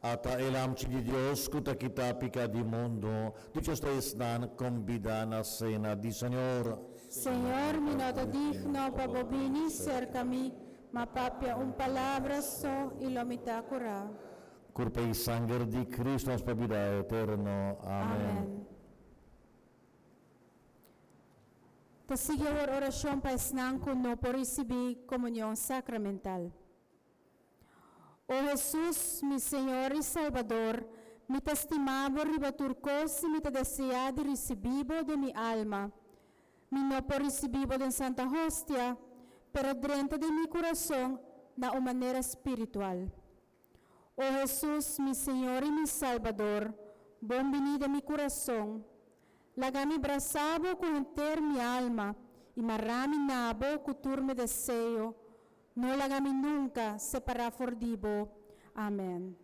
Ata e Lamchi di Dios ku ta kita piká di mundu, dichoso ta esnan kombidá na sena di Señor. Señor, mi no ta digno pa bo bini serka mi, ma papia un palabra so i lo mi ta kurá. Kurpa i sanger di Kristu nos pa bida eterno. Amen. Amen. Ta sigui awor orashon pa esnan ku no por risibí komunion sakramental. O Hesus, mi Señor i Salbador, mi ta stima bo riba tur kos i mi ta deseá di risibí bo den mi alma. Mi no por risibí bo den Santa Hostia, pero drenta den mi kurason na un manera spiritual. O Hesus, mi Señor i mi Salbador, bon biní den mi kurason. Laga mi brasa bo ku henter mi alma i mará mi na bo ku tur mi deseo. No laga mi nunka separá for di bo. Amen.